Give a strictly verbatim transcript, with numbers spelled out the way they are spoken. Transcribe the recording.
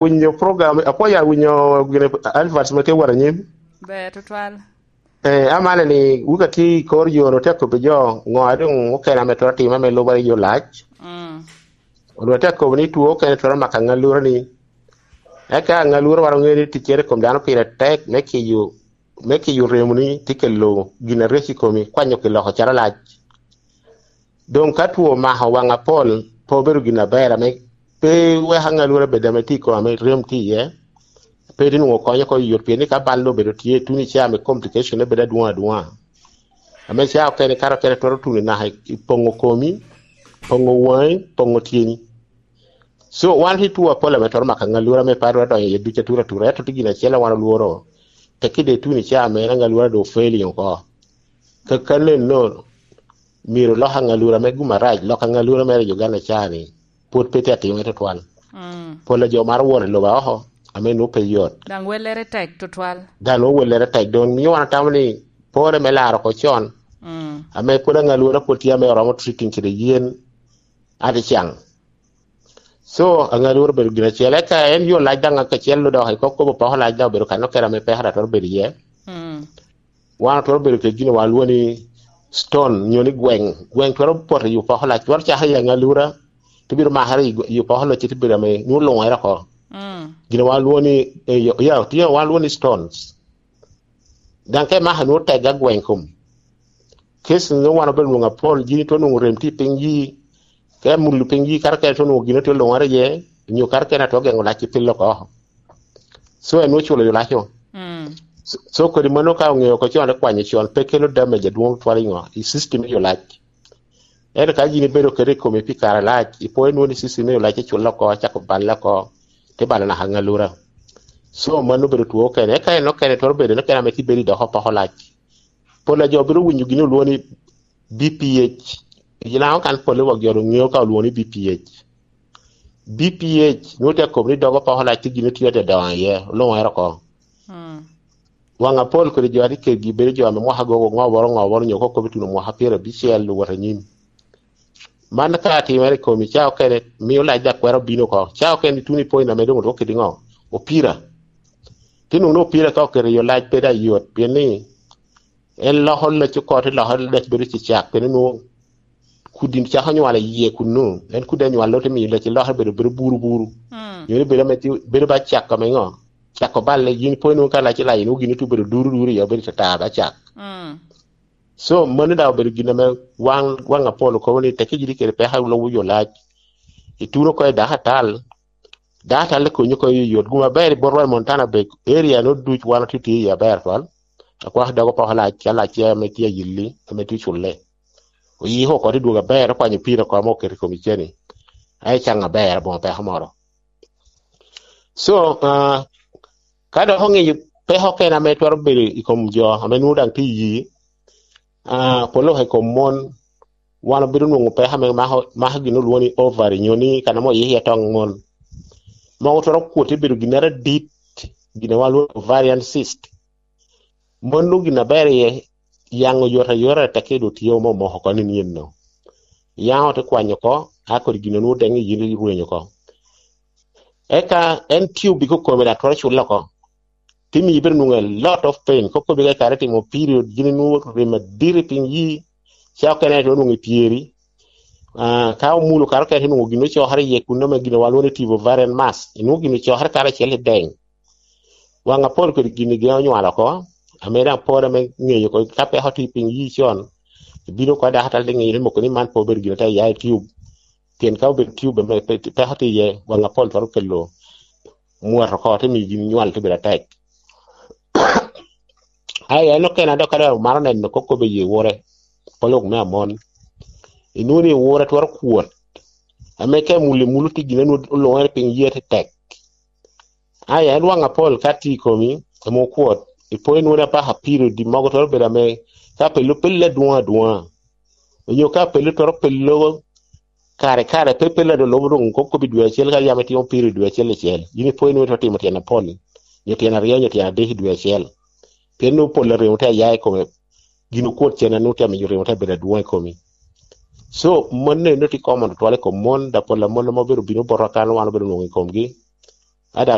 Winyo program, apwoyo awinyo gine adverts ma tye wot anyim. Ber tutwal. Eh, amane ni wuka tye i kor yo, otye akobbi jo, ngo a doŋ okene ame twero time ame lubere yo lac. Mm. Onwongo atye akobo ni two okene twero mako aŋalura ni. Eka aŋalura wano ŋeo ni ticcere i kom dano pire tek me kiyo, me kiyo remo ni tye kelo gin areco i komi, kwanyo ki loko calo lac. Doŋ ka two omako waŋ apol, pe obedo gin aber ame pe weko aŋalura bed ame tye i kome ame rem tye iye. Pe tye nwoŋo konyo oko yot, pien ni ka bal obedo tye, tuno ica ame complication ne bedo adwoŋ adwoŋa. Ame ca okene, kato okene twero tuno naka i poŋo komi, poŋo waŋi, poŋo tyeni. So, wan tye two apol ame twero mako aŋalura ame pe atwero donyo iye duc atura atura, ento tye gin acel a wan olworo. Tekki de tuno ica ame en aŋalura do failing oko. Kakano enno, myero lok aŋalura me gum arac, lok aŋalura mere i Uganda ca ni, pwod pe tye atimere tutwal. Mm. Pol a jo maro wot i lobo oko, ame nwoŋo pe yot. Daŋ wellere tek tutwal. Daŋ nwoŋo wellere tek, doŋ mio wan atamo ni pore me laro oko con. Mm. Ame pwod aŋalura pwod tye ame oromo treating kede yen aticaŋ. So, aŋalura obedo gin acel. Eka en yo lac daŋ kacel dok i kop kobo poko lac daŋ obedo kan okene ame pekere atwero bedo iye. Mm. Wan otwero bedo kede gin wan lwongo ni stone, nyo ni gweŋ. Gweŋ twero poto i opoko lac, twero cakere i aŋalura, te bino makere i, i opoko lac, te bedo ame nwoŋo luŋere oko. Mm. Gin wan lwongo ni, eh, yo, ya, tye wan lwongo ni stones. Daŋ ka imako nwoŋo tega gweŋ kom. Kec nwoŋo wan obedo nwoŋo apol, gin itwero nwoŋo rem tye i piny yi, ka imullo piny yi, kato kene itwero nwoŋo gin otye luŋere iye, nyo kato kene atwero geŋo lac i pil oko. So, en nwoŋo culo yo laco. Mm. So, so kodi mano ka oŋeo oko con, kwanyo con, pe kelo damage adwoŋ tutwal i ŋo, i system me yo lac. Ento ka yin ibedo kede i komi pi kare alac, ipwoyo nwoŋo ni system me yo lac iculle oko, acako balle oko, te balo naka aŋalura. So, mano obedo two okene. Eka en okene twero bedo, en okene ame tye bedo i doko poko lac. Pol a jo bino winyo gin olwongo ni B P H. I Lango kan pol i wak jo doŋ ŋeo ka olwongo ni B P H. B P H, nwoŋo tye akobo ni dog opoko lac tye gin otye ate doŋo iye, oluŋere oko. Mm. Waŋ apol kodi jo ate kedgi bedo jo ame mwaka gogo ŋoboro ŋoboro nyo kokobo ituno mwaka pyerabicel owot anyim. Man ka atimere i komi, ca okene mio lac dakwero bino oko. Ca okene ituno ipwony na me doŋ otwok kede ŋo? Opira. Ti nwoŋo ni opira ka oketo i yo lac pe daŋ yot, pien ni en loko lac oko, te loko lac bedo cicak, pien ni nwoŋo kudi cako nywalo iye kunnu. En kudi anywalo te miyo lac lokere bedo, bedo buru buru. Mm. Nyo ni bedo ame ti-, bedo ba cak ame ŋo? Cako balle, yin po inwoŋo ka lac ilac, inwoŋo gin otubo bedo duru duru iye, obedo tatar ba cak. Mm. So, mano daŋ obedo gin ame wan, waŋ apol okobo ni tekki giri kede peko a lubo yo lac. Ituno oko i dako atal, dako atal ikonyo oko i yot. Gum aber i botwa i Montana Bay area no duc wan otye tye iye aber twal. Akwako dog opoko lac, ka lac tye ame tye ayilli, ame tye culle. Oyiko oko te dwogo aber, okwanyo pira oko ame oketo i kom iceni. Aye caŋ aber, aboŋo peko moro. So, ah, ka dok oŋeyo peko okene ame twero bedo i kom jo ame nwoŋo daŋ tye i yi, ah, polo i kom mon, wan obedo nwoŋo peko ame mako, mako gin olwoŋo ni ovary, nyo ni kan ame oyiko iye toŋ mon. Mogo twero kwot te bedo ginnere adit, gin ame walwoŋo ni ovarian cyst. Mon nwoŋo gin aber iye, yaŋ oyot ayota, tekki dok tye ome omoko oko nino. Yaŋ ote kwanyo oko, a kodi gin onwoŋo deŋ i yin irwenyo oko. Eka en tube i kome daŋ twero culle oko. Te miyo ibedo nwoŋo a lot of pain. Kokobi ka ikare timo period, gin inwoŋo rem adit i piny yi, ca okene itwero nwoŋo i pyeri. Ah, ka omulo kare okene itwero nwoŋo gin ocokere iye kun ame gin wan lwongo ni tube ovarian mass. Inwoŋo gin ocokere kare acel i deŋ. Waŋ apol kodi gin i geŋ onywalo oko, ame daŋ pol ame ŋeyo oko, ka peko tye i piny yi con, ibino oko dako atal te ŋeyo ni moko ni man pe obedo gin ata ya i tube. Pien ka obedo tube ame pe-, peko tye iye, waŋ apol twero kelo mwot oko, te miyo gin nywal te bedo atek. Ai, en okene a dok ka dok omaro neno kop kop i yi wure, polok me amon. Inwoŋo ni wure twero kwot. Ame ka imul, imul tye gin a nwoŋo oluŋere piny yie te tek. Ai, en waŋ apol ka tye i komi, ame okwot, ipo inwoŋo ni apaka pire odi mogo twero bedo ame ka pelo pelle adwoŋ adwoŋa. Onyo ka pelo twero pelo kare kare, pe pelo a doŋ lubo doŋ kop kop i dwe acel, ka yam itimo pire i dwe acel acel. Yin ipo inwoŋo twero timo tyen apol, nyo tyen aryo, nyo tyen adek i dwe acel. Pien nwoŋo pol a remo te aya i kome, gin okwot cen a nwoŋo tye amiyo remo te bedo adwoŋ i komi. So, mon eno tye common tutwal i kom mon, da pol a mon ame obedo bino botwa kan wan obedo nwoŋo i komgi.